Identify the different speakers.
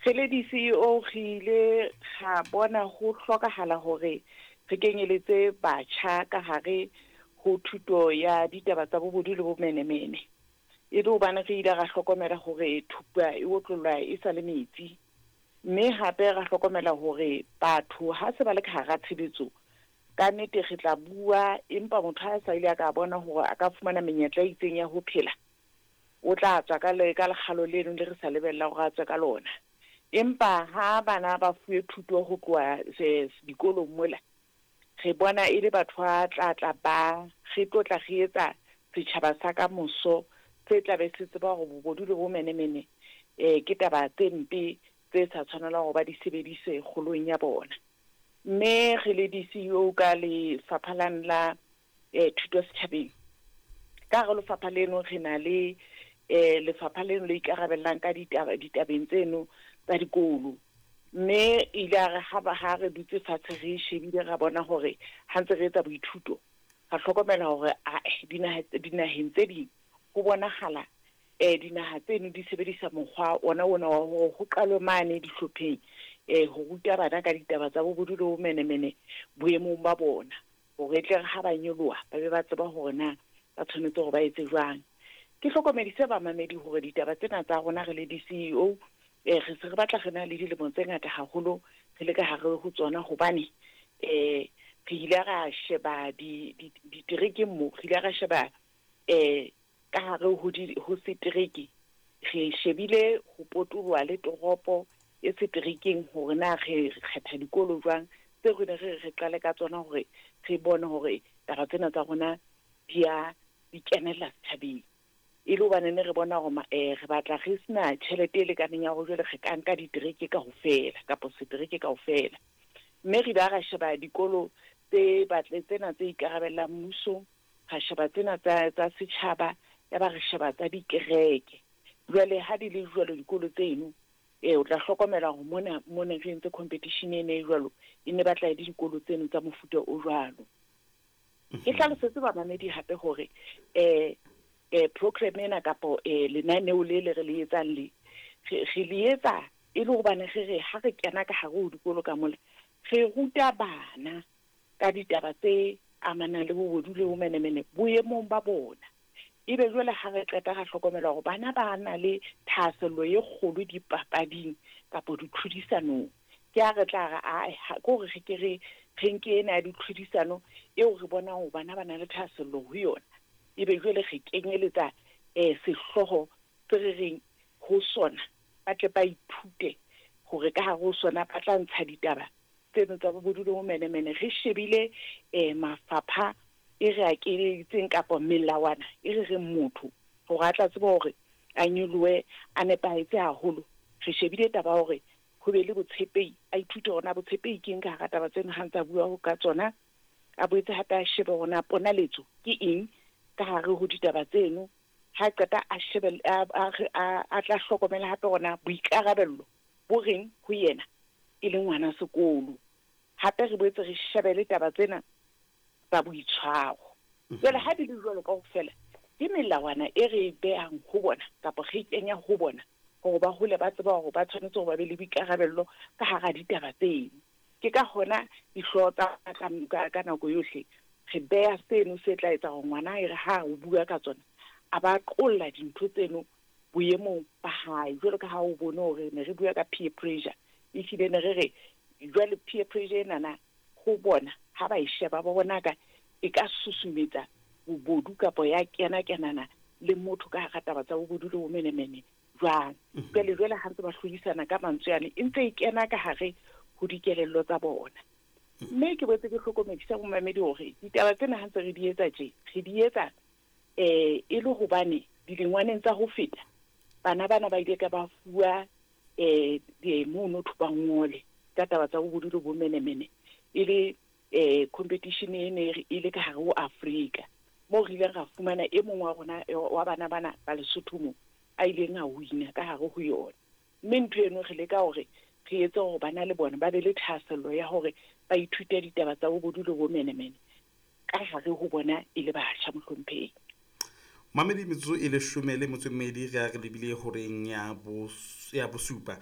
Speaker 1: Re le di-CEO re ile ra bona ho hlokahala hore re kenyeletse batjha ka hare ho thuto ya ditaba tsa bobodu le bomenemene. E le hobane re ile ra hlokomela hore thupa e otlollwa e sa le metsi. Mme hape ra hlokomela hore batho ha se ba le ka hara tshebetso, ka nnete re tla bua, empa motho ha sa ile a ka bona hore a ka fumana menyetla e itseng ya ho phela, o tla tswa ka le ka lekgalo leno le re sa lebella hore a tswe ka lona. Empa ha bana ba fuwe thuto ho tloha dikolong mola, re bona e le batho ba tla tla ba re tlo tla re etsa setjhaba sa ka moso se tla be se tseba hore bobodu le bomenemene ke taba tse mpe tse sa tshwanelang hore ba di sebedise kgolong ya bona. Mme re le di-CEO ka lefapha lane la thuto setjhabeng, ka hare lefapha leno re na le lefapha leno le ikarabellang ka ditaba ditabeng tseno tsa dikolo. Mme ile a re ha ba ha re dutse fatshe re shebile, ra bona hore ha ntse re etsa boithuto, ra hlokomela hore ae dinaheng tse ding ho bonahala dinaha tseno di sebedisa mokgwa ona ona wa hore ho qalwe mane dihlopheng ho ruta bana ka ditaba tsa bobodu le bomenemene boemong ba bona, hore e tle re ha ba nyoloha ba be ba tseba hore na ba tshwanetse hore ba etse jwang. Ke hlokomedise bamamedi hore ditaba tsena tsa rona re le di-CEO re se re batla re na le dilemo tse ngata haholo re le ka hare ho tsona, hobane re ile ra sheba diterekeng mo, re ile ra sheba ka hare ho setereke, re shebile ho potoloha le toropo e seterekeng hore na re kgetha dikolo jwang tseo re ne re re qale ka tsona hore re bone hore taba tsena tsa rona di a di kenella setjhabeng. E le hobane ne re bona hore re batla re sena tjhelete e lekaneng ya hore jwale re ka nka ditereke kaofela kapa setereke kaofela. Mme re ile ra sheba dikolo tse batle tsena tse ikarabellang mmusong, ra sheba tsena tsa setjhaba, ya ba re sheba tsa dikereke. Jwale ha di le jwalo dikolo tseno, o tla hlokomela hore mona mona re entse competition ena e jwalo, e ne batla e le dikolo tseno tsa mofuta o jwalo. Ke hlalosetse bamamedi hape hore program ena kapo lenaneo le le re le etsang le re le etsa e le hobane re re ha re kena ka hare ho dikolo ka mola, re ruta bana ka ditaba tse amanang le bobodu le bomenemene boemong ba bona. Ebe jwale ha re qeta ra hlokomela hore bana ba na le thahasello e kgolo dipapading kapo ditlhodisanong. Ke ha re tla re ae ke hore re ke re re nke ena ya ditlhodisano eo re bonang hore bana ba na le thahasello ho yona. Ebe jwale re kenyeletsa sehlooho se re reng ho sona, ba tle ba ithute hore ka hare ho sona ba tla ntsha ditaba tseno tsa bobodu le bomenemene. Re shebile mafapha e re a keleditseng kapa melawana e re reng motho hore a tla tseba hore a nyolohe a nepahetse haholo. Re shebile taba ya hore ho be le botshepehi, a ithute hore na botshepehi ke eng ka hara taba tseno ha ntse a bua ka tsona. A boetse hape a shebe hore na ponaletso ke eng ka hare ho ditaba tseno. Ha qeta a shebe a tla hlokomela hape hore na boikarabello bo reng ho yena e le ngwana sekolo. Hape re boetse re shebe le taba tsena tsa boitshwaro. Jwale ha di le jwalo kaofela, ke melawana e re e behang ho bona kapa re kenya ho bona hore ba hole ba tseba hore ba tshwanetse hore ba be le boikarabello ka hara ditaba tseno. Ke ka hona dihlooho tsa ka nako yohle re beha seno se tla etsa hore ngwana e re ha o bua ka tsona a ba qolla dintho tseno boemong ba hae. Jwalo ka ha o bone hore ne re bua ka peer pressure, ehlile ne re re jwale peer pressure enana ho bona ha ba e sheba ba bona ka e ka susumetsa bobodu kapa ya kena kenana le motho ka hara taba tsa bobodu le bomenemene jwang. Jwale jwale ha ntse ba hlodisana ka mantswe ane e ntse e kena ka hare ho dikelello tsa bona. Mme ke boetse ke hlokomedisa bomamedi hore ditaba tsena ha ntse re di etsa tje, re di etsa e le hobane dilengwaneng tsa ho feta bana bana ba ile ka ba fuwa mono ba ngole ka taba tsa bobodu le bomenemene e le competition e ne e le ka hare ho Afrika, moo re ileng ra fumana e mong wa rona wa bana bana ba Lesotho mo a ileng a wina ka hare ho yona. Mme ntho eno re leka hore re etse hore bana le bona ba be le thahasello ya hore ba ithute ditaba tsa bobodu le bomenemene ka hare ho bona e le batjha, mohlomphehi.
Speaker 2: Mamedi, metsotso e 12 re a re lebile horeng ya 7.